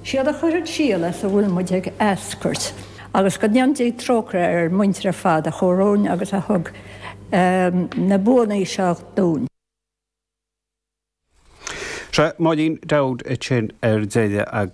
Siad a chuir an síol as a bhfuil muid ag eascairt. Agus go ndéana Dia trócaire ar ár muintir ar fad a chuaigh romhainn agus a thug na buanna seo dúinn. Sea, Máirín Dowd ansin ar deireadh agus.